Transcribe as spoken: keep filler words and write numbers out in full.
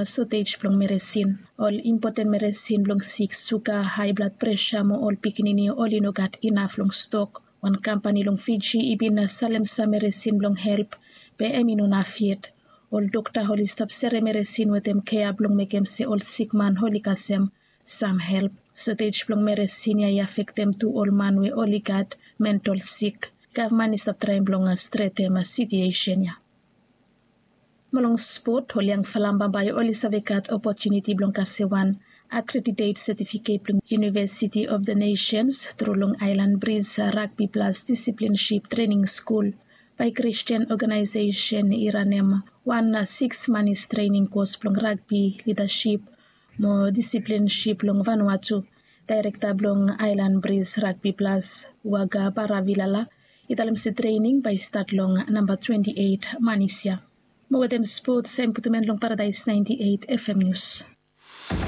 Sotej blong meresin. Ol impoten meresin blong sik suga, hae blad presa mo ol pikinini oli no gat inaf long stok. Wan kampani long Fiji i bin salem sam meresin blong help, be hem i no naf yet. Ol dokta oli stap sere meresin wetem kea blong mekem se ol sikman oli kasem sam help. Sotej blong meresin ya i afektem tu ol man we oli gat mentol sik. Gavman i stap traem blong stretem sitiesen ya. Mo long spot, ol yangfala bambae oli save gat opotuniti blong kasem wan akreditet setifiket blong University of the Nations tru long Aelan Bris Ragbi Plas Disiplinship Trening Skul. Bae Kristian oganaesesen i ranem wan siks manis trening kos blong ragbi lidasip mo disiplinship long Vanuatu. Daerekta blong Aelan Bris Ragbi Plas, Waga Baravilala, i talem se trening bae i stat long namba twenti eit manis ya. Mo wetem spot, sem putum en long Paradaes naenti eit FM Nius.